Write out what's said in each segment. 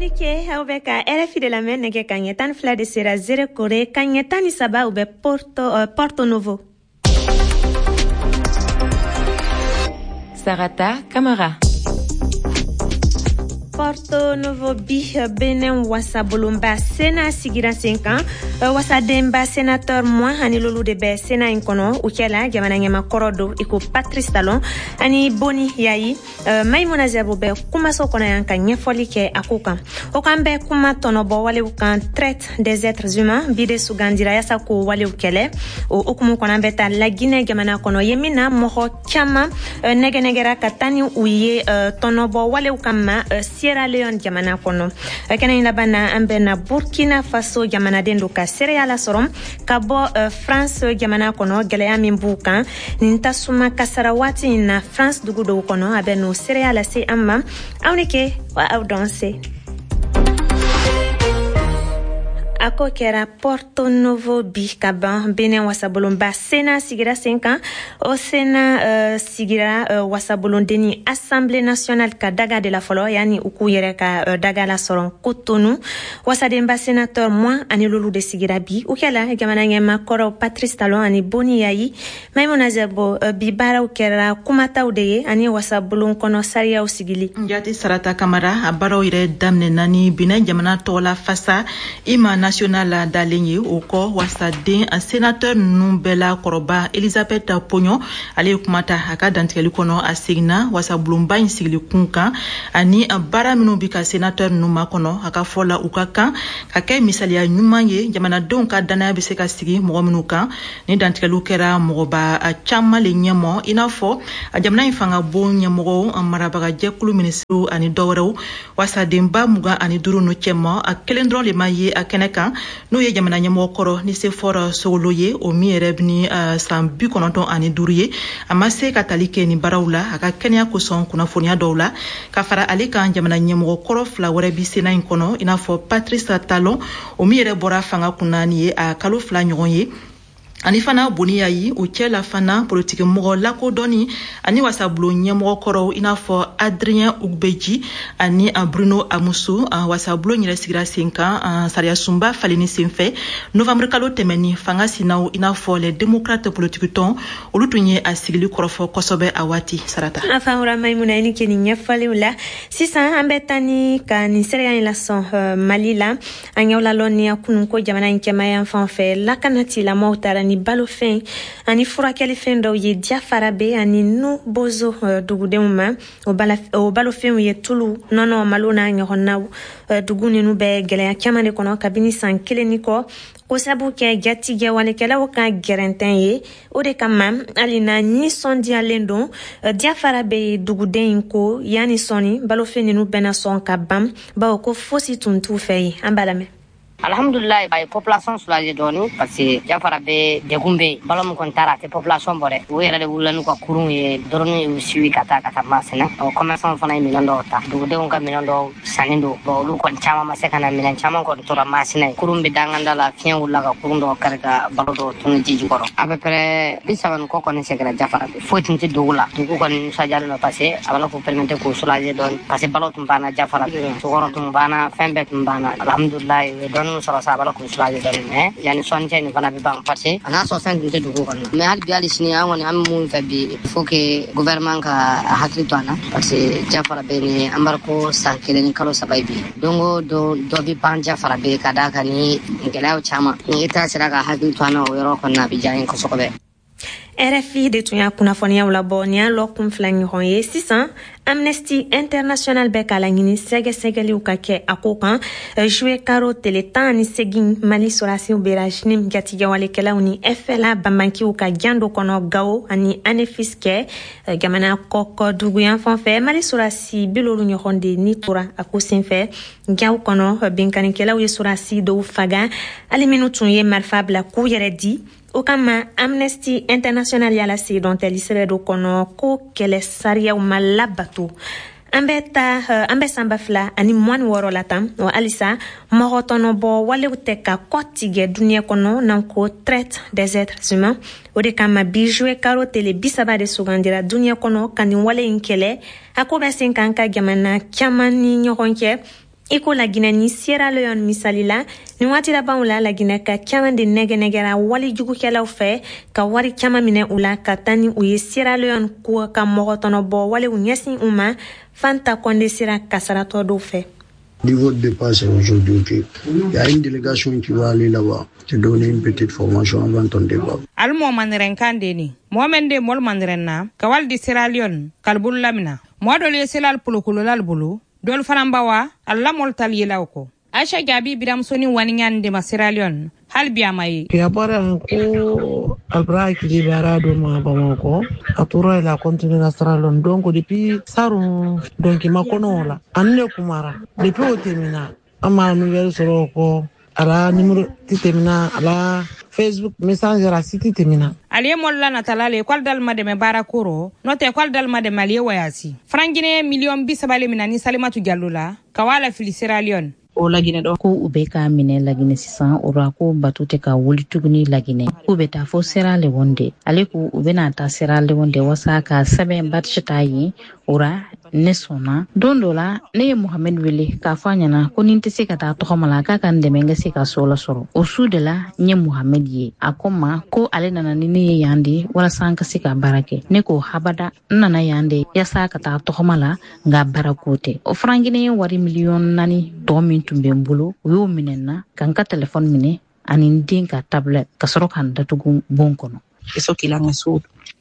Aw ni ce, aw bɛ ka RFI de lamɛn. Nɛgɛ ka ɲɛ 12 de sera Nzérékoré, ka ɲɛ 13, u bɛ Porto Novo. Sarata Kamara. Porto Novo bi, Benin wasabolonba Sénat sigira sen kan. Wasadenba sénateur 25 de bɛ Sénat in kɔnɔ. U cɛla, jamana ɲɛmakɔrɔ do i ko Patrice Talon ani Boni Yayi. Maimuna Zerbo bɛ kumaso kɔnɔ yan ka ɲɛfɔli kɛ a ko kan. O kan bɛ kuma tɔnɔbɔ walew kan, traite des êtres humains. Bi de sugandira yasa k'o walew kɛlɛ. O hukumu kɔnɔ, an bɛ taa Laginɛ jamana kɔnɔ, ye min na mɔgɔ caman nɛgɛnɛgɛra ka taa ni u ye tɔnɔbɔ walew kama Sierra Leone jamana kɔnɔ. Kɛnɛ in laban na, an bɛ na Burkina Faso jamanaden do ka seereya lasɔrɔ ka bɔ France jamana kɔnɔ, gɛlɛya min b'u kan nin tasuma kasara waati in na France dugu dɔw kɔnɔ. A bɛ n'o seereya lase an ma. Aw ni ke wa aw dɔn se. A ko kɛra Porto Novo bi ka ban. Benin wasabolonba Sénat sigira sen kan. O Sénat sigira wasabolondenni Assemblée nationale ka daga de la fɔlɔ, yani u k'u yɛrɛ ka daga lasɔrɔ Kotonu. Wasadenba sénateur 25 de sigira bi. U kɛla jamana ɲɛma kɔrɔw Patrice Talon ani Boni Yayi. Maimuna Zerbo, bi baaraw kɛra kumataw de ye ani wasabolon kɔnɔ sariyaw sigili. Jate Sarata Kamara, a baaraw yɛrɛ daminɛna ni Benin jamana tɔgɔla fasa hymne national dalen ye. O kɔ, wasaden a sénateur ninnu bɛɛ la kɔrɔba Elisabeth Pognon, ale ye kuma ta a ka dantigɛli kɔnɔ. A seginna wasabulonba in sigili kun kan ani baara minnu bi ka sénateur ninnu makɔnɔ. A ka fɔ la, u ka kan ka kɛ misaliya ɲuman ye, jamanadenw ka danaya bɛ se ka sigi mɔgɔ minnu kan. Ni dantigɛliw kɛra mɔgɔba caman le ɲɛmɔ, i n'a fɔ jamana in fanga bon ɲɛmɔgɔw, marabagajɛkulu minisiriw ani dɔwɛrɛw. Wasadenba 25 nu cɛma, a kelen dɔrɔn le ma ye a kɛnɛ kan, n'o ye jamana ɲɛmɔgɔ kɔrɔ Nicéphore Soglo ye, o min yɛrɛ ni san 95 ye. A ma se ka tali kɛ nin baaraw la a ka kɛnɛya kosɔn, kunnafoniya dɔw la. Ka fara ale kan, jamana ɲɛmɔgɔ kɔrɔ fila wɛrɛ bi Sénat in kɔnɔ, i n'a fɔ Patrice Talon, o min yɛrɛ bɔra fanga kunna ni ye a kalo 2 ɲɔgɔn ye, ani fana Boni Yayi. O cɛ la fana, politiki mɔgɔ lakodɔnni ani wasabulon ɲɛmɔgɔ kɔrɔw, i n'a fɔ Adrien Houngbédji ani Bruno Amoussou. Wasabulon yɛrɛ sigira sen kan sariyasunba falenni senfɛ novembre kalo tɛmɛni. Fanga sinaw, i n'a fɔ les démocrates politiki tɔn, olu tun ye a sigili kɔrɔfɔ kosɛbɛ a waati, Sarata. An famura Maimuna, i ni ke nin ɲɛfɔliw la. Sisan an bɛ taa ni ka nin seereya in lasɔn Mali la. An y'aw lalɔnniya kunun ko jamana in kɛmaya fan fɛ, lakana tigilamɔgɔw taara ni balofɛn ani furakɛlifɛn dɔw ye Diafarabé ani Nu Bozo dugudenw ma. O balofɛnw ye tulu, nɔnɔ, malo n'a ɲɔgɔnnaw. Dugu ninnu bɛ gɛlɛya caman de kɔnɔ kabini san kelen ni kɔ, ko sabu kɛ jatigɛwalekɛlaw ka gɛrɛntɛn ye. O de kama, hali na nisɔndiyalen don, Diafarabé duguden in ko yanni sɔnni balofɛn ninnu bɛna sɔn ka ban, bawo ko fosi tun t'u fɛ yen. An b'a lamɛn. Alhamdulillah, a ye population soulager dɔɔni, parce que Diafarabé degun bɛ yen. Balo min kɔni taara, a tɛ population bɔ dɛ. U yɛrɛ de wulila n'u ka kurun ye dɔrɔn, y'u suivi ka taa ka taa Masina. Ɔ, commerçant fana ye minɛn dɔw ta, dugudenw ka minɛn dɔw sanni don. Bon, olu kɔni caman ma se ka na, minɛn caman kɔni tora Masina ye. Kurun bɛ danganda la, fiɲɛ wulila ka kurun dɔw kari ka balo dɔw tunu ji jukɔrɔ. À peu près 30 ni kɔ kɔni seginna Diafarabé. Foyi tun tɛ dugu la. Dugu kɔni nisɔndiyalen don, parce que a b'a la k'u permettre k'u soulager dɔɔni, parce que balo tun banna Diafarabé, sukɔrɔ tun banna, fɛn bɛɛ tun banna. Alhamdulillah, u ye dɔɔni sɔrɔ sa, a b'a la k'u soulager dɔɔni, mais yanni sɔnni cɛ nin fana bɛ ban, parce que a n'a sɔrɔ fɛn tun tɛ dugu kɔnɔ. Mais hali bi, hali sini, an kɔni an bɛ mun fɛ bi, il faut que gouvernement ka hakili to an na, parce que Diafarabé ni embargo san 1 ni kalo 3 ye bi. Don o don dɔ bɛ ban Diafarabé ka d'a kan ni gɛlɛyaw caman. Ni État sera ka hakili to an na o yɔrɔ kɔni na, a bɛ diya an ye kosɛbɛ. RFI de tun y'a kunnafoniyaw labɔ nin y'a lɔkun 2 ɲɔgɔn ye. Sisan, Amnesty International bɛ k'a laɲini sɛgɛsɛgɛliw ka kɛ a ko kan. Juillet karo tele 18, Mali sɔrɔdasiw bera JNIM jatigɛwalekɛlaw ni FLA banbankiw ka jan dɔ kɔnɔ Gao ani Anefis kɛ jamana kɔkɔ duguyan fan fɛ. Mali sɔrɔdasi 70 ɲɔgɔn de ni tora a ko senfɛ. Gawo kɔnɔ, binkannikɛlaw ye sɔrɔdasi dɔw faga, hali minnu tun ye marifa bila k'u yɛrɛ di. O kama, Amnesty International y'a lase dɔntɛli sɛbɛ dɔ kɔnɔ ko kɛlɛ sariyaw ma labato. An bɛ ta an bɛ san 2026 la tan wa, halisa mɔgɔ tɔnɔbɔ walew tɛ ka kɔ tigɛ duniɲɛ kɔnɔ, n'an ko traite des êtres humains. O de kama, bi juillet karo tele 30 de sugandira duniɲɛ kɔnɔ ka nin wale in kɛlɛ. A ko bɛ sen kan ka jamana caman ni ɲɔgɔn cɛ. I ko Laginɛ ni Sierra Leone misali la, nin waati labanw la, Laginɛka caman de nɛgɛnɛgɛra walijugukɛlaw fɛ ka wari caman minɛ u la ka taa ni u ye Sierra Leone ko ka mɔgɔ tɔnɔbɔ walew ɲɛsin u ma. Fanta Kɔnde sera kasaratɔ dɔw fɛ. Niveau de départ, c'est aujourd'hui. Ok. Il y a une délégation qui va aller là-bas, te donner une petite formation avant ton départ. Ali mɔ mandiren kan de ni mɔgɔ men de mɔlu mandiren na ka wali di Sierra Leone kalibulu lamina. Mɔgɔ dɔlu ye selal polokololal bolo, dɔlu fana bawa alla mɔlu tal yelaw kɔ. Aisha Jaabi biramusoni waniɲani de ma Sierra Leone, hali bi a ma ye. A bɔra yan ko albra hakili bɛ ara dɔ ma Bamakɔ, a tora yen la, a continué na Sierra Leone. Donc depuis sarun, donc ma kɔnɔ o la ani ne kumara. Depuis o tɛmɛna, an ma nouvelle sɔrɔ o kɔ. A la numéro ti tɛmɛna, a la Facebook Messenger a si ti tɛmɛna. Ali ye mɔlu la natala le k'ale dali ma dɛmɛ baara ko rɔ, n'o tɛ k'ale dali ma dɛmɛ. Ali ye wayasi franc guinéen miliyɔn 30 le mina ni Salimatu Jalo la ka wa la fili Sierra Leone. O Laginɛ dɔ ko u bɛ k'a minɛ Laginɛ sisan. O ra ko bato tɛ ka wuli tuguni Laginɛ, k'u bɛ taa fo Sierra Leone de. Ale ko u bɛna taa Sierra Leone de wasa ka sɛbɛn badge ta yen. O ra ne sɔnna. Don dɔ la, ne ye Mohamɛd wele k'a fɔ a ɲɛna ko ni n tɛ se ka taa tɔgɔma la, k'a ka n dɛmɛ n ka se ka so lasɔrɔ. O su de la, n ye Mohamɛd ye. A ko n ma ko ale nana ni ne ye yan de walasa an ka se ka baara kɛ. Ne ko habada, n nana yan de yaasa ka taa tɔgɔma la, nka baara ko tɛ. O franc guinéen wari miliyɔn 4 tɔ min tun bɛ n bolo, o y'o minɛ n na, ka n ka telefɔni minɛ ani n den ka tablette, ka sɔrɔ ka n datugu bon kɔnɔ.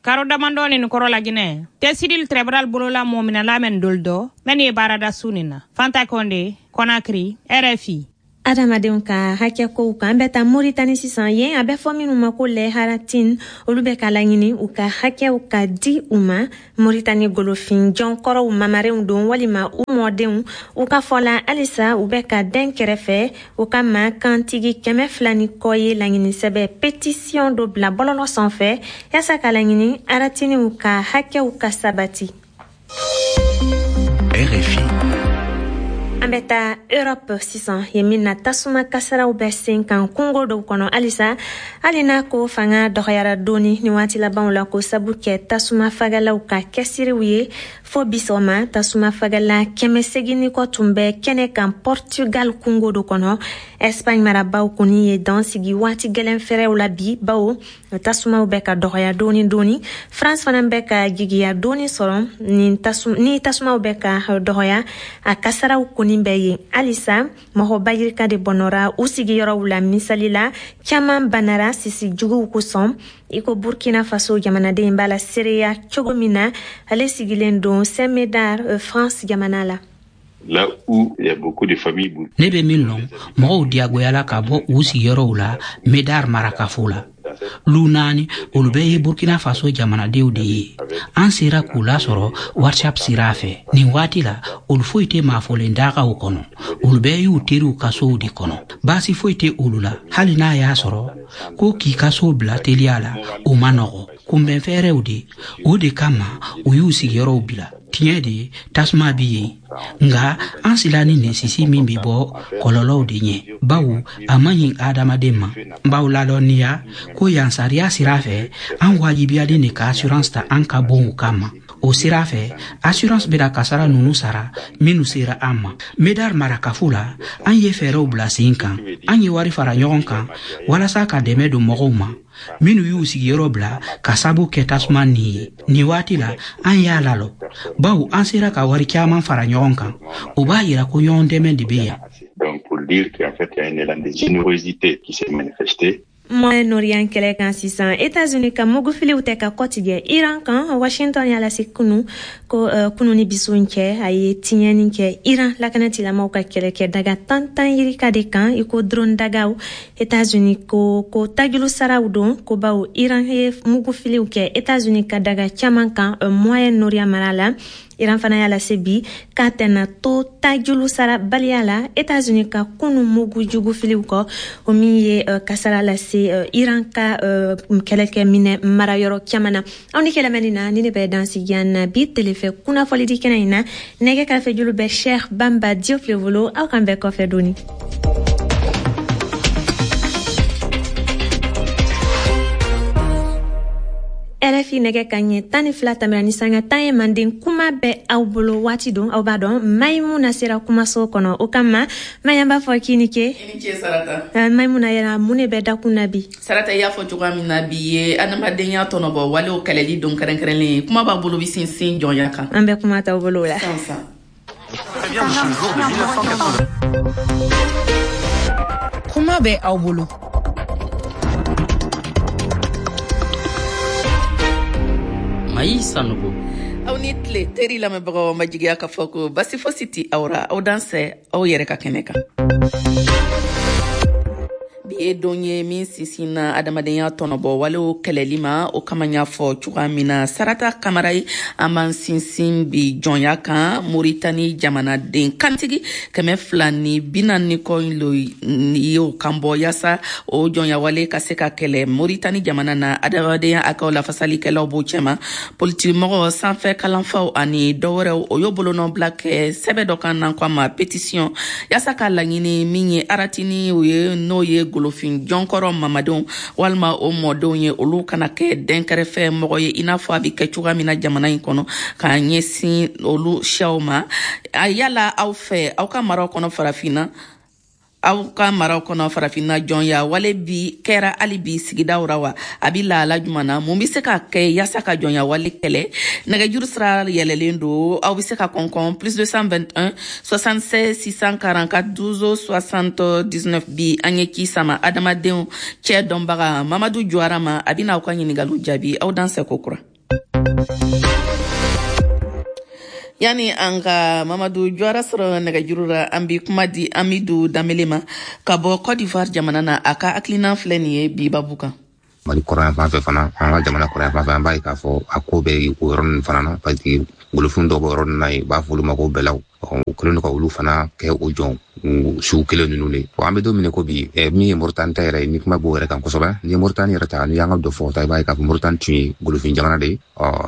Karo damandɔ nin kɔrɔ, Laginɛ tɛsidil tribunal bolola mɔ minɛla mɛn dol dɔ mɛn ye baarada su nin na. Fanta Kɔnde, Conakry, RFI. Adamadenw ka hakɛ kow kan, an bɛ taa Moritani sisan. Yen, a bɛ fɔ minnu ma ko les Haratine, olu bɛ ka laɲini u ka hakɛw ka di u ma. Moritani golofin jɔnkɔrɔw mamarenw don walima u mɔdenw. U ka fɔ la, halisa u bɛ ka den kɛrɛfɛ. O kama, kantigi 200 ni kɔ ye laɲini sɛbɛ pétition dɔ bila bɔlɔlɔ sanfɛ yaasa ka laɲini haratiniw ka hakɛw ka sabati. RFI. An bɛ taa Europe sisan, yen min na tasuma kasaraw bɛ sen kan kungo dɔw kɔnɔ halisa, hali n'a ko fanga dɔgɔyara dɔɔni ni waati labanw la, ko sabu kɛ tasuma fagalaw ka kɛsiriw ye. Fo bi sɔgɔma, tasuma fagala 800 ni kɔ tun bɛ kɛnɛ kan Portugal kungo dɔ kɔnɔ. Espagne marabaw kɔni ye dan sigi waati gɛlɛn fɛrɛw la bi, bawo tasumaw bɛ ka dɔgɔya dɔɔni dɔɔni. France fana bɛ ka jigiya dɔɔni sɔrɔ ni tasumaw bɛ ka dɔgɔya, a kasaraw kɔni bɛ yen halisa. Mɔgɔ bayirika de bɔnɔra u sigiyɔrɔw la. Misali la, caman banara sisi juguw kosɔn, i ko Burkina Faso jamanaden b'a la seereya cogo min na. Ale sigilen don Saint Médard, France jamana la. Là où il y a beaucoup de familles. Ne bɛ min lɔn, mɔgɔw diyagoyala ka bɔ u sigiyɔrɔw la Medar marakafo la. Lu naani, olu bɛɛ ye Burkina Faso jamanadenw de ye. An sera k'u lasɔrɔ WhatsApp sira fɛ. Nin waati la, olu foyi tɛ maafɔlen dagaw kɔnɔ. Olu bɛɛ y'u teriw ka sow de kɔnɔ, baasi foyi tɛ olu la, hali n'a y'a sɔrɔ ko k'i ka so bila teliya la, o ma nɔgɔ. Kunbɛnfɛɛrɛw de o de kama u y'u sigiyɔrɔw bila. Tiɲɛ de, tasuma bi yen, nka an sila ni nin sisi min bɛ bɔ kɔlɔlɔw de ɲɛ, bawo a man ɲi adamaden ma. N b'aw lalɔnniya ko yan, sariya sira fɛ, an wajibiyalen de ka assurance ta an ka bonw kama. O sira fɛ, assurance bɛna kasara nunu sara minnu sera an ma. Medar marakafo la, an ye fɛɛrɛw bila sen kan. An ye wari fara ɲɔgɔn kan walasa ka dɛmɛ don mɔgɔw ma minnu y'u sigiyɔrɔ bila ka sabu kɛ tasuma nin ye. Nin waati la, an y'a lalɔ, bawo an sera ka wari caman fara ɲɔgɔn kan. O b'a yira ko ɲɔgɔn dɛmɛ de bɛ yan. Donc pour dire qu'en fait, il y a un élan de générosité qui s'est manifesté. Moyen-Orient kɛlɛ kan sisan, États-Unis ka mugufiliw tɛ ka kɔtigɛ Iran kan. Washington y'a lase kunu ko kunu ni biso cɛ, a ye tiɲɛni kɛ Iran lakanatilamaw ka kɛlɛkɛ daga tan tan yirika de kan, i ko drone dagaw. États-Unis ko tajulu saraw don, ko bawo Iran ye mugufiliw kɛ États-Unis ka daga caman kan Moyen-Orient mara la. Iran fana y'a lase bi k'a tɛna to tajulu sara baliya la États-Unis ka kunu mugu jugu filiw kɔ, o min ye kasara lase Iran ka kɛlɛkɛ minɛ marayɔrɔ caman na. Aw ni kɛlɛmɛni na ni ne bɛ dansigi yan na bi telefɛ kunnafolidi kɛnɛ in na. Nɛgɛ kɛrɛfɛ julu bɛ Cheikh Bamba Diop le bolo. Aw kan bɛɛ kɔfɛ doni. RFI. RFI nɛgɛ ka ɲɛ 12 tɛmɛna ni sanga 10 ye. Manden kuma bɛ aw bolo waati don, aw b'a dɔn Mayimuna sera kumaso kɔnɔ, o kama Maya b'a fɔ k'i ni ce. I ni ce, Sarata. Mayimuna, yɛrɛ mun de bɛ dakun na bi? Sarata, i y'a fɔ cogoya min na, bi ye adamadenya tɔnɔbɔ walew kɛlɛli don kɛrɛnkɛrɛnlen ye. Kuma b'a bolo bi sinsin jɔnya kan. An bɛ kuma t'aw bolo o la. Sisan. Kuma bɛ aw bolo. Mayi Sanogo. Aw ni tile, teri lamɛnbagaw. Ma jigiya k'a fɔ ko basi fosi ti aw ra. Aw dansɛ aw yɛrɛ ka kɛnɛ kan. Bi ye don ye min sinsinna adamadenya tɔnɔbɔ walew kɛlɛli ma. O kama, y'a fɔ cogoya min na, Sarata Kamara ye, an b'an sinsin bi jɔnya kan. Moritani jamanaden kantigi 240 kɔ lo y'o kan bɔ yaasa o jɔnya wale ka se ka kɛlɛ Moritani jamana na. Adamadenya hakɛw lafasalikɛlaw b'o cɛma, politikimɔgɔ, sanfɛ kalanfaw ani dɔwɛrɛw. O y'o bolonɔbila kɛ sɛbɛ dɔ kan n'an ko a ma pétition, yaasa k'a laɲini min ye aratini o ye, n'o ye golofin jɔnkɔrɔ mamadenw walima o mɔdenw ye, olu kana kɛ dɛnkɛrɛfɛ mɔgɔ ye, i n'a fɔ a bɛ kɛ cogoya min na jamana in kɔnɔ k'a ɲɛsin olu siyaw ma. Yala aw fɛ, aw ka maraw kɔnɔ Farafinna, aw ka maraw kɔnɔ Farafinna, jɔnya wale bi kɛra hali bi sigidaw ra wa? A bi lahala juman na? Mun be se ka kɛ yaasa ka jɔnya wale kɛlɛ? Nɛgɛjuru sira yɛlɛlen don, aw be se ka kɔnkɔn +221 76 644 12 79. Bi an ye ci sama adamadenw cɛ dɔnbaga Mamadu Juwara ma, a bɛna aw ka ɲiningaliw jaabi. Aw dansɛ ko kura. Yani an ka Mamadu Juwara sɔrɔ nɛgɛjuru la, an bi kuma di Amidu Danbele ma ka bɔ Cote d'Ivoire jamana na. A ka hakilina filɛ nin ye bi babu kan. Mali kɔrɔyan fan fɛ fana, an ka jamana kɔrɔyan fan fɛ, an b'a ye k'a fɔ a ko bɛ o yɔrɔ ninnu fana na, parce que golofin dɔw bɛ yɔrɔ ninnu na yen, u b'a fɔ olu ma ko bɛlaw. U kɛlen don ka olu fana kɛ o jɔn sugu kelen ninnu de. An bɛ don min ko bi, min ye Moritani ta yɛrɛ ye, ni kuma b'o yɛrɛ kan kosɛbɛ, ni ye Moritani yɛrɛ ta, n'i y'an ka dɔ fɔ ta, i b'a ye k'a fɔ Moritani tun ye golofin jamana de ye,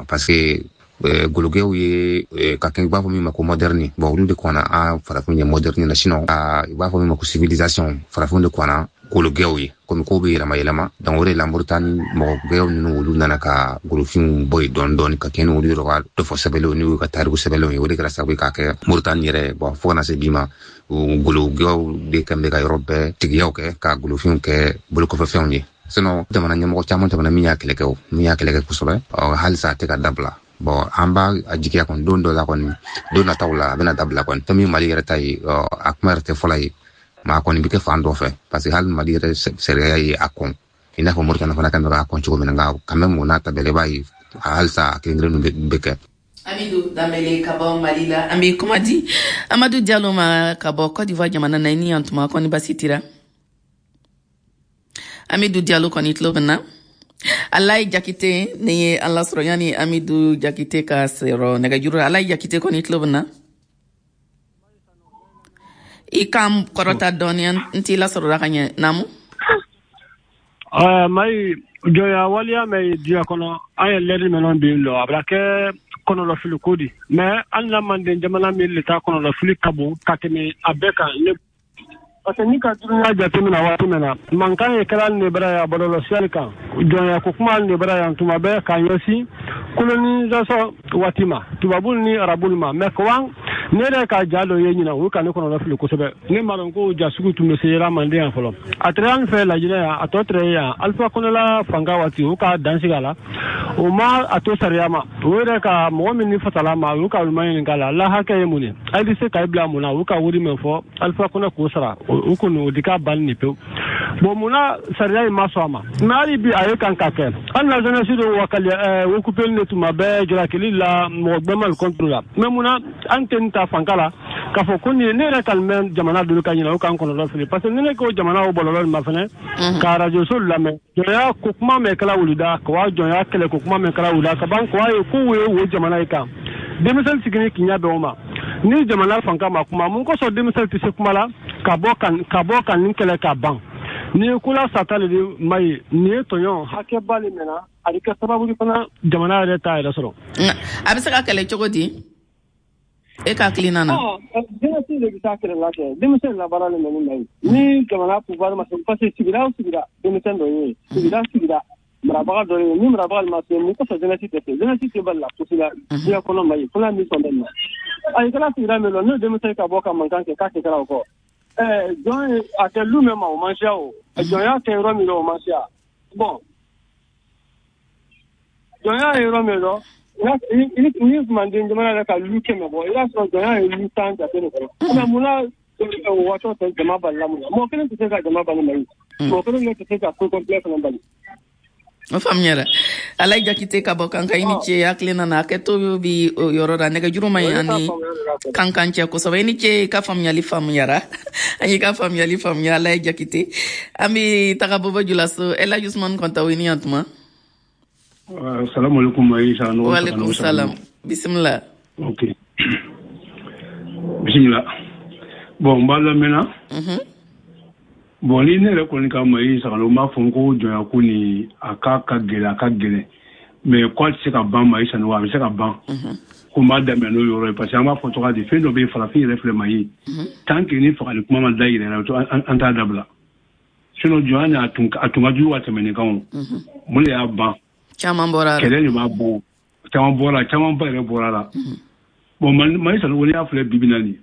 parce que gologɛw ye ka kɛ, i b'a fɔ min ma ko moderne. Bon, olu de kɔnna an farafin ye moderne na, sinon i b'a fɔ min ma ko civilisation, farafin de kɔnna gologɛw ye, komi kow bɛ yɛlɛma yɛlɛma. Donc o de la Moritani mɔgɔgɛw ninnu, olu nana ka golofinw bɔ yen dɔɔni dɔɔni, ka kɛ ni olu yɛrɛ ka dɔfɔ sɛbɛnlenw n'u ka tariku sɛbɛnlenw ye. O de kɛra sababu ye k'a kɛ Moritani yɛrɛ, bon, fo ka na se bi ma, gologɛw de kɛn bɛ ka yɔrɔ bɛɛ tigiyaw kɛ, ka golofinw kɛ bolokɔfɛfɛnw ye. Sinon jamana ɲɛmɔgɔ caman tɛmɛna min y'a kɛlɛ kɛ, o min y'a kɛlɛ kɛ kosɛbɛ, halisa a tɛ ka dabila. Bon, an b'a a jigiya kɔni, don dɔ la kɔni, don nataw la, a bɛna dabila kɔni. Fɛn min Mali yɛrɛ ta ye, a kuma yɛrɛ tɛ fɔla ye, maa kɔni bɛ kɛ fan dɔ fɛ, parce que hali Mali yɛrɛ sariya ye a kɔn, i n'a fɔ Moritani fana kan bɛ k'a kɔn cogo min na. Nka quand même, o n'a ta bɛɛ la, i b'a ye halisa a kelen kelen bɛ kɛ. Amidu Danbele ka bɔ Mali la. An bɛ kuma di Amadu Jalo ma ka bɔ Cote d'Ivoire jamana na. I ni yan tuma, kɔni basi tira? Amidu Jalo kɔni tulo bɛ na? Alayi Jakite ni ye an lasɔrɔ. Yanni Amidu Jakite ka sɔrɔ nɛgɛjuru la, Alayi Jakite kɔni tulo bɛ na? I kan kɔrɔta dɔɔni, n t'i lasɔrɔla ka ɲɛ. Naamu. Mayi, jɔnya waleya mɛ diɲɛ kɔnɔ, an ye lɛri mɛnɔ bi lɔ, a bɛna kɛ kɔnɔlɔfili ko di, mais hali na manden jamana min le ta kɔnɔlɔfili ka bon ka tɛmɛ a bɛɛ kan ne, parce que ni ka dunuya jateminɛ waati min na, mankan ye kɛra ne bara yan bɔlɔlɔsiyali kan, jɔnya ko kuma ne bara yan tuma bɛɛ k'a ɲɛsin colonisation waati ma, tubabu ni arabu ma. Mais kawan ne yɛrɛ ka ja dɔ ye ɲina, o ka ne kɔnɔlɔ fili kosɛbɛ. Ne m'a dɔn ko ja sugu tun bɛ se yɛrɛ manden yan fɔlɔ. A tɛrɛ an fɛ Lajinɛ yan, a tɔ tɛrɛ yan Alpha Condé fanga waati, o ka dan sigi a la, o ma a to sariya ma. O yɛrɛ ka mɔgɔ min ni fasala ma, olu ka olu ma ɲininka la la hakɛ ye mun ye, a bɛ se k'a bila mun na, olu ka wari min fɔ Alpha Condé k'o sara, o kɔni o di ka ban nin pewu. Bon, munna sariya in ma sɔn a ma? Mais hali bi a ye kan ka kɛ. Hali na jeunesse dɔw wakali occupé ne tuma bɛɛ jalakili la mɔgɔ gbɛmal contre la. Mais munna an tɛ nin ta fanka la k'a fɔ ko nin ne yɛrɛ ka mɛn jamana dolu ka ɲina, o k'an kɔnɔdɔ fili, parce que ni ne ko jamana o bɔlɔlɔ nin ma fɛnɛ ka radio so lamɛn, jɔnya ko kuma mɛn kɛla wulida ka wa jɔnya kɛlɛ ko kuma mɛn kɛla wulida ka ban ko a ye ko ye o jamana ye kan denmisɛnnin sigini k'i ɲɛ bɛn o ma. Ni jamana fanka ma kuma, mun kosɔn denmisɛnnin tɛ se kuma la ka bɔ ka nin kɛlɛ ka ban? Ni ye kola sata le de ma ye, nin ye tɔɲɔ hakɛba le mɛnna, a bɛ kɛ sababu fana jamana yɛrɛ t'a yɛrɛ sɔrɔ. A bɛ se ka kɛlɛ cogo di e ka hakilina na? Denmisɛnnin de bɛ taa kɛlɛ la kɛ, denmisɛnnin la baara le mɛnni ma ye ni jamana pouvoir ma se, parce que sigida o sigida denmisɛnnin dɔ ye, sigida sigida Marabaga dɔ ye ni marabaga ma se mun kosɔn jeunesse tɛ se jeunesse tɛ bali la fosi la diɲɛ kɔnɔ Mali fo n'a min sɔn bɛ ma a kɛra sigida min na n'o denmisɛn ka bɔ ka mankan kɛ k'a tɛ kɛra o kɔ jɔn ye a kɛ lu min ma o man siya o jɔnya kɛ yɔrɔ min na o man siya bon jɔnya ye yɔrɔ min dɔn ni manden jamana yɛrɛ ka lu 100 bɔ i b'a sɔrɔ jɔnya ye lu 10 jate de kɔnɔ mais munna o waati tɛ jama balila mun na mɔgɔ kelen tɛ se ka jama bali Mali mɔgɔ kelen tɛ se ka ko complet fana bali. O faamuyara. Alayi Jakite ka bɔ Kankan, i ni ce hakili nana hakɛto bi o yɔrɔ la nɛgɛjuru ma ɲi ani Kankan cɛ kosɛbɛ. I ni ce, i ka faamuyali faamuyara, an y'i ka faamuyali faamuya. Alayi Jakite, an bɛ taga Bobo Julaso. Elaji Usumani Kɔntawo, i ni yan tuma. Salamu alaikum Aïcha. Wa alaikum salam, bisimila. Ok, bisimila. Bon, n b'a lamɛnna. Bon, ni ne yɛrɛ kɔni ka Mayi Sagalo, n b'a fɔ ko jɔnya ko nin a ka gɛlɛn, a ka gɛlɛn, mais ko a tɛ se ka ban Mayi Sanogo, a bɛ se ka ban. Ko n b'a daminɛ n'o yɔrɔ ye parce que an b'a fɔ cogoya di, fɛn dɔ bɛ yen farafin yɛrɛ filɛ Mayi, tant que ni fagali kuma ma da yɛrɛ la, an t'a dabila. Sinon jɔnya nin a tun ka jugu ka tɛmɛ nin kan o. Mun de y'a ban? Caman bɔra a la. Kɛlɛ de b'a bɔ, caman bɔra a la, camanba yɛrɛ bɔra a la. Bon, Mayi Sanogo, n'i y'a filɛ bi bi in na nin,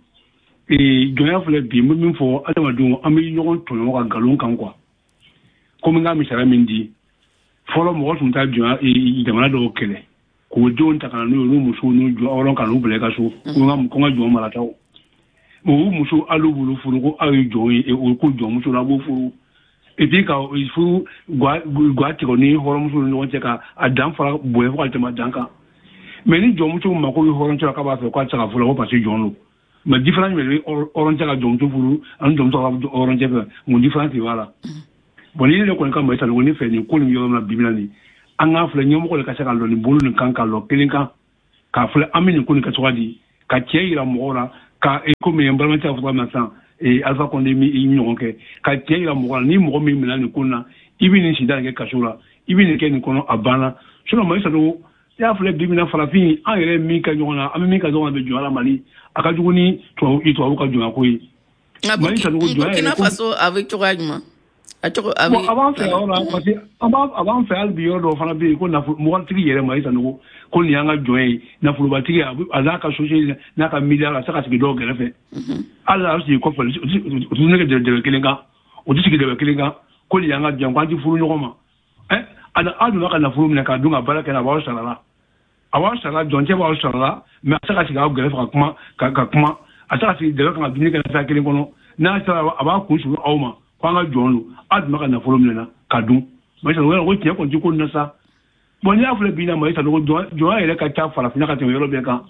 jɔnya filɛ bi, n bɛ min fɔ adamadenw, an bɛ ɲɔgɔn tɔɲɔ ka nkalon kan quoi. Komi n ka misaliya min di, fɔlɔ mɔgɔ tun taa jɔnya jamana dɔw kɛlɛ k'o denw ta ka na n'u ye, n'u musow n'u jɔ ka n'u bila i ka so, ko n ka jɔn marataw. U muso hali b'olu furu ko aw ye jɔn ye, o ko jɔnmuso la a b'o furu. Et puis ka furu gwa tigɛ ni hɔrɔnmuso ni ɲɔgɔn cɛ ka a dan fara bonya fo ka tɛmɛ a dan kan. Mais ni jɔnmuso mako bɛ hɔrɔncɛ la k'a b'a fɛ k'a tɛ se ka furu la ko parce que jɔn don. Mais différence bɛ hɔrɔncɛ ka jɔnmuso furu ani jɔnmuso ka hɔrɔncɛ fɛ, mun différence de b'a la? Bon, ni ne yɛrɛ kɔni ka Mayi Sanogo, ne fɛ nin ko nin yɔrɔ min na bi bi in na nin, an k'a filɛ ɲɛmɔgɔ de ka se ka lɔ nin bolo nin kan ka lɔ kelen kan k'a filɛ an bɛ nin ko nin kɛ cogoya di, ka tiɲɛ yira mɔgɔw la, ka komi n balimakɛ y'a fɔ cogoya min na sisan, Alpha Condé mi i ɲɔgɔn kɛ ka tiɲɛ yira mɔgɔw la, ni mɔgɔ min minɛ nin ko in na, i bɛ nin sida nin kɛ kaso la, i bɛ nin kɛ nin kɔnɔ, a banna. Sinon Mayi Sanogo, i y'a filɛ bi bi in na farafin an yɛrɛ min kɛ ɲɔgɔn na, an bɛ min kɛ ɲɔgɔn na bɛ jɔnya la Mali, a ka jugu ni tubabu ka jɔnya ko ye. Mali Sanogo, jɔnya yɛrɛ Burkina Faso a bɛ cogoya jumɛn? A cogo a bɛ. Bon, a b'an fɛ yɔrɔ la parce que a b'an fɛ hali bi yɔrɔ dɔw fana bɛ yen ko nafolo mɔgɔtigi yɛrɛ Mayi Sanogo ko nin y'an ka jɔn ye, nafolobatigi a n'a ka société n'a ka milliard a tɛ se ka sigi dɔw kɛrɛfɛ. Hali a bɛ sigi kɔfɛ, o tɛ ne kɛ dɛbɛ kelen kan, o tɛ sigi dɛbɛ kelen kan ko nin y'an ka jɔn, ko an tɛ furu ɲɔgɔn ma. A donna ka nafolo minɛ k'a dun ka baara kɛ, a b'aw sara la, a b'aw sara la, jɔncɛ b'aw sara la, mais a tɛ se ka sigi aw gɛrɛfɛ ka kuma ka kuma, a tɛ se ka sigi dɛbɛ kan ka dumuni kɛ fɛn kelen kɔnɔ, n'a sera a b'a kun suru aw ma ko an ka jɔn don, aw dun b'a ka nafolo minɛ na ka dun. Mayi Sanogo, ko tiɲɛ kɔni tɛ ko nin na sa. Bon, n'i y'a filɛ bi in na Mayi Sanogo, jɔnya yɛrɛ ka ca farafinna ka tɛmɛ yɔrɔ bɛɛ kan,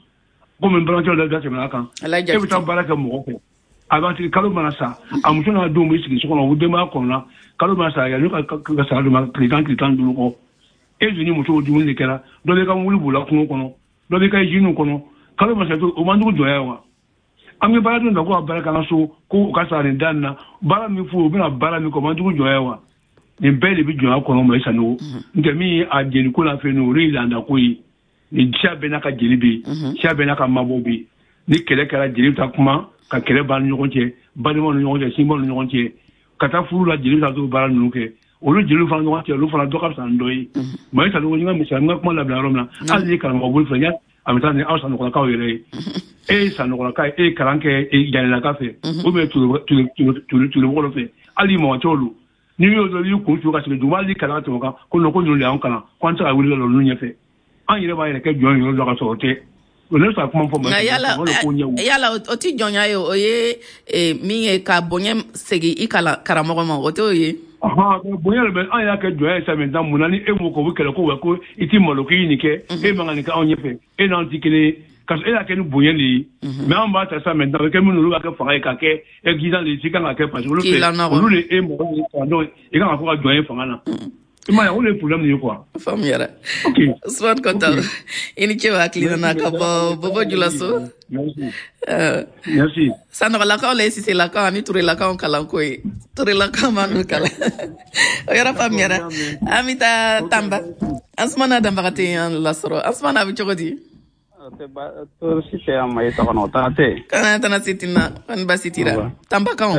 komi n balimakɛ dɔ da tɛmɛna kan. E bɛ taa baara kɛ mɔgɔ fɛ, a b'a tigi kalo mana sa, a muso n'a denw bɛ sigi so kɔnɔ, u denbaya kɔnɔna, kalo mana sa yanni ka sara d'u ma tile 10 tile 15 kɔ, e dun ni musow dumuni de kɛra, dɔ bɛ ka mobili boli kungo kɔnɔ, dɔ bɛ ka usine kɔnɔ, kalo mana sa o man jugu jɔnya ye wa? An bɛ baara dun ta ko ka baara kɛ an ka so, ko u ka sara nin da nin na, baara min f'u ye u bɛna baara min kɛ o man jugu jɔnya ye wa? Nin bɛɛ de bɛ jɔnya kɔnɔ Mayi Sanogo. N tɛ min ye a jeliko la fɛn o ye laada ko ye, ni siya bɛɛ n'a ka jeli bɛ yen, siya bɛɛ n'a ka mabɔ bɛ yen, ni kɛlɛ kɛra jeli bɛ taa kuma ka kɛlɛ ban ni ɲɔgɔn cɛ, balimaw ni ɲɔgɔn cɛ, sinbaw ni ɲɔgɔn cɛ, ka taa furu la jeli bɛ taa t'o baara ninnu kɛ, olu jeliw fana ɲɔgɔn cɛ, olu fana dɔ ka fisa ni dɔ ye. Mayi Sanogo, n ka misali, n ka kuma labila yɔrɔ min na, hali ni karamɔgɔ bolo filɛ, a bɛ taa ni aw Sanɔgɔlakaw yɛrɛ ye, e ye Sanɔgɔlaka ye, e ye kalan kɛ Janelaka fɛ, ou bien Turemɔgɔ dɔ fɛ, hali mɔgɔ olu n'i y'o dɔn i y'i kun su ka sigi dugu, hali kalan tɛmɛ kan ko non ko ninnu de y'anw kalan ko an tɛ se ka wuli ka lɔ ninnu ɲɛfɛ, an yɛrɛ b'an yɛrɛ kɛ jɔn yɔrɔ dɔ ka sɔrɔ o tɛ. O ne bɛ se ka kuma fɔ nka yala o tɛ jɔnya ye, o ye min ye ka bonya segin i karamɔgɔ ma, o t'o ye. Bonya de bɛ an y'a kɛ jɔnya ye sa maintenant, mun na ni e m'o kɛ o bɛ kɛlɛ ko wa ko i t'i malo k'i ye nin kɛ, e man ka nin kɛ anw ɲɛfɛ, e n'anw tɛ kelen ye, ka sɔrɔ e y'a kɛ ni bonya de ye. Mais anw b'a ta sa maintenant, a bɛ kɛ minnu olu b'a kɛ fanga ye k'a kɛ exigence de ye, i kan ka kɛ parce que olu fɛ olu de e mɔgɔ ye kalandenw ye, i kan ka fɔ ka jɔn ye fanga na. I m'a ye, o de ye problème ye quoi. Faamuyara. Usumani Kɔnta, i ni ce hakili nana ka bɔ Bobo Julaso. Merci. Sanɔgɔlakaw la ye Siselakaw ani Turelakaw kalanko ye. Turelakaw ma n'u kalan. O yɔrɔ faamuyara. An bɛ taa Tanba. Ansumana Danbagate y'an lasɔrɔ. Ansumana, a bɛ cogo di? Tɔɔrɔ si tɛ an ma i tɔgɔ o tana tɛ. Kana tana si tɛ na, kɔni baasi t'i la. Tanbakaw.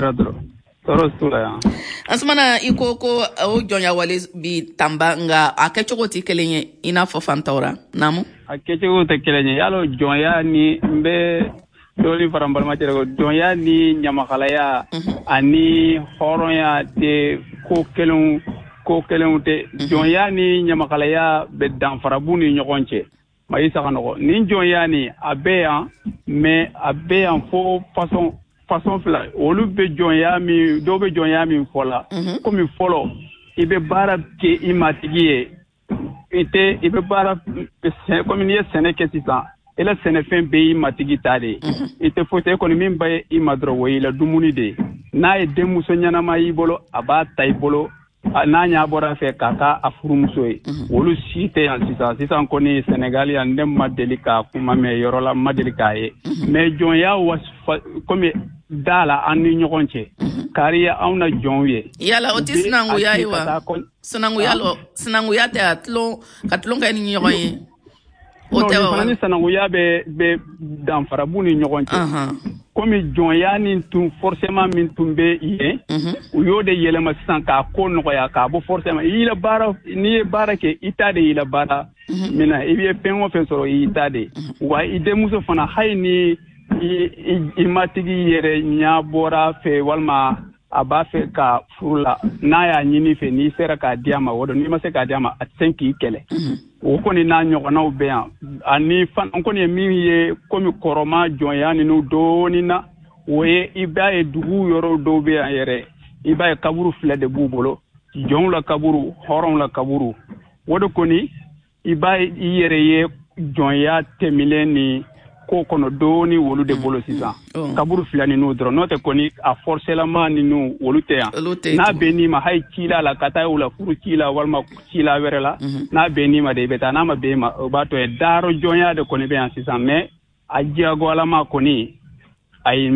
Tɔɔrɔ t'u la yan. Ansumana, i ko ko o jɔnya wale bi tanba, nka a kɛcogo tɛ kelen ye i n'a fɔ fantaw ra. Naamu. A kɛcogo tɛ kelen ye. Yalo jɔnya ni n bɛ dɔɔnin fara n balimacɛ kan, jɔnya ni ɲamakalaya ani hɔrɔnya tɛ ko kelenw, ko kelenw tɛ. Jɔnya ni ɲamakalaya bɛ danfara b'u ni ɲɔgɔn cɛ. Mayi Saganɔgɔ, nin jɔnya ni a bɛ yan, mais a bɛ yan fo façon fila. Olu bɛ jɔnya min, dɔw bɛ jɔnya min fɔ la, komi fɔlɔ i bɛ baara kɛ i matigi ye, i tɛ i bɛ baara komi n'i ye sɛnɛ kɛ sisan, i la sɛnɛfɛn bɛɛ y'i matigi ta de ye. I tɛ foyi tɛ e kɔni min bɛ i ma dɔrɔn, o y'i la dumuni de ye. N'a ye denmuso ɲɛnama y'i bolo, a b'a ta i bolo, n'a ɲa bɔra fɛ k'a ka a furumuso ye. Olu si tɛ yan sisan. Sisan kɔni Senegal yan, ne ma deli ka kuma mɛn yɔrɔ la, n ma deli k'a ye. Mais jɔnya komi da la an ni ɲɔgɔn cɛ, kari anw na jɔnw ye. Yala o tɛ sinankunya ye wa? Sinankuya lɔ, sinankuya tɛ a tulon ka tulon kɛ ni ɲɔgɔn ye. O tɛ wa? Ni sinankunya bɛ danfara b'u ni ɲɔgɔn cɛ. Komi jɔnya ni tun forcément min tun bɛ yen, u y'o de yɛlɛma sisan k'a ko nɔgɔya, k'a bɔ forcément i la baara. N'i ye baara kɛ, i ta de y'i la baara mina, i bɛ fɛn o fɛn sɔrɔ, i ta de. Wa i denmuso fana, hali ni i matigi yɛrɛ ɲɛ bɔra fɛ walima a b'a fɛ ka furu la, n'a y'a ɲini fɛ, n'i sera k'a di a ma, o don. N'i ma se k'a di a ma, a tɛ se k'i kɛlɛ. O kɔni n'a ɲɔgɔnnaw bɛ yan. Ani fana n kɔni ye min ye komi kɔrɔma jɔnya ninnu dɔɔnin na, o ye i b'a ye dugu yɔrɔ dɔw bɛ yan yɛrɛ, i b'a ye kaburu fila de b'u bolo, jɔnw la kaburu, hɔrɔnw la kaburu. O de kɔni i b'a ye i yɛrɛ ye jɔnya tɛmɛlen ni ko kɔnɔ dɔɔni olu de bolo sisan, kaburu fila ninnu dɔrɔn. N'o tɛ kɔni a forcément ninnu olu tɛ yan. N'a bɛ n'i ma, hali ci la ka taa u la furu ci la walima ci la wɛrɛ la, n'a bɛ n'i ma de i bɛ taa, n'a ma bɛn i ma, o b'a to ye. Daaro jɔnya de kɔni bɛ yan sisan, mais a diyagoyalama kɔni ayi.